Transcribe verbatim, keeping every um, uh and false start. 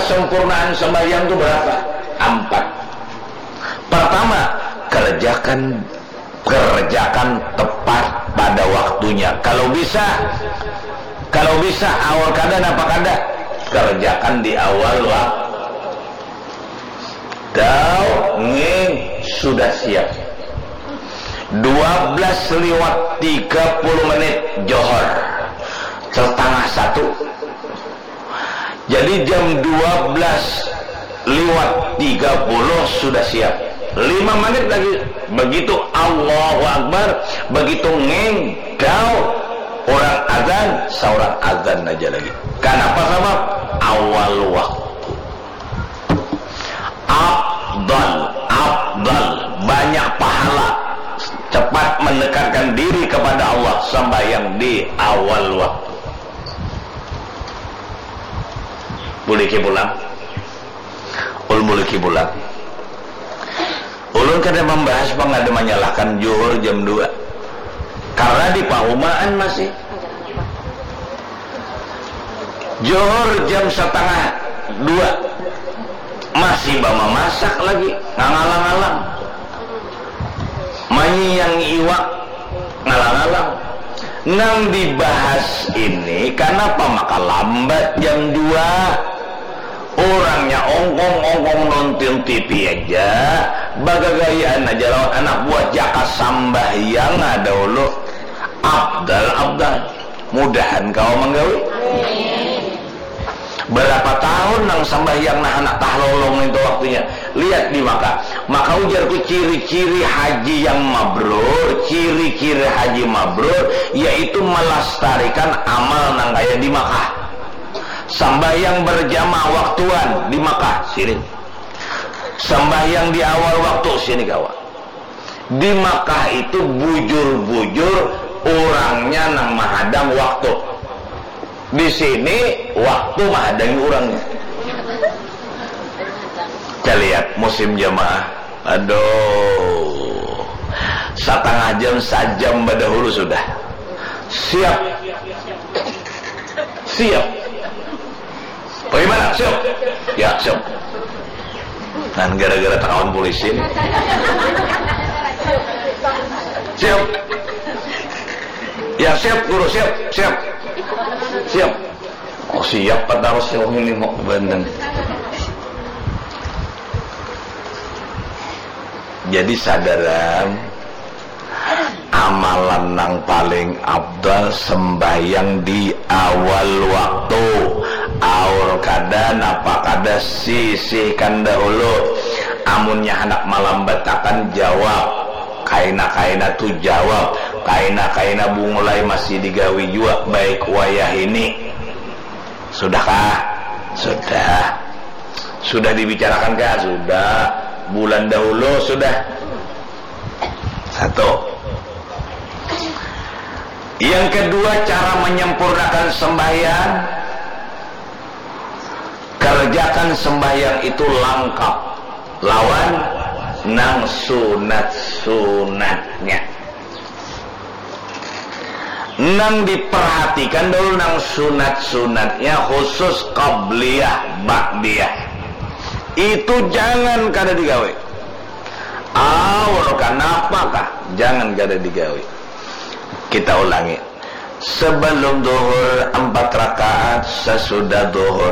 Sempurnaan sembahyang itu berapa? Empat. Pertama, kerjakan kerjakan tepat pada waktunya. Kalau bisa, kalau bisa awal kada napa kada, kerjakan di awal waktu. Dau nging sudah siap. Dua belas liwat tiga puluh menit, johor. Setengah satu. Jadi jam dua belas liwat tiga puluh sudah siap. Lima menit lagi, begitu Allahu Akbar, begitu nging, dau, orang azan, seorang azan aja lagi. Kenapa? Sabab awal waktu. Afdal, afdal, banyak pahala, cepat mendekatkan diri kepada Allah, sembahyang di awal waktu. Buliki pulang. Ul buliki pulang. Ulun kada membahas pang ada menyalahkan juhur jam dua. Karena di pahumaan masih. Juhur jam setengah dua. Masih bamamasak lagi, ngangalang-alang. Manyiang iwak, ngalang-alang. Nang dibahas ini, kanapa maka lambat jam dua? Urangnya ongkong-ongkong nonton T V aja, bagagayaan aja lawan anak buah, jaka sambahyang dahulu. Afdal, afdal. Mudahan kawa manggawi. Berapa tahun nang sambahyang nah handak tahlolong itu waktunya. Lihat di Makkah. Maka ujarku ciri-ciri haji yang mabrur, ciri-ciri haji mabrur yaitu melestarikan amal nang kaya di Makkah. Sambahyang berjamaah waktuan di Makkah, sini. Sambahyang di awal waktu, sini kawa. Di Makkah itu bujur-bujur urangnya nang mahadang waktu. Di sini waktu mahadangi urangnya. Kita lihat musim jamaah. Aduh. Setengah jam, sajam badahulu sudah. Siap. Siap. Bagaimana? Siap? Ya, siap. Nah, gara-gara takawan polisi nih. Siap. Ya, siap, guru, siap, siap. Siap. Oh, siap, Pak Tarus, siap ini mau bandeng. Jadi sadaran, amalan nang paling afdal sembahyang di awal waktu. Aur kada, napa kada, sisihkan dahulu. Amunnya handak malambatakan, jawab. Kaina-kaina tu jawab. Kaina-kaina bungulai masih digawi jua, baik wayah ini. Sudahkah? Sudah. Sudah dibicarakan kah? Sudah. Bulan dahulu sudah. Satu. Yang kedua, cara menyempurnakan sembahyang. Kerjakan sembahyang itu langkap lawan nang sunat-sunatnya. Nang diperhatikan dahulu nang sunat-sunatnya, khusus qabliyah, ba'diyah. Itu jangan kada digawi. Aur kanapa kah? Jangan kada digawi. Kita ulangi. Sebelum duhur empat rakaat, sesudah duhur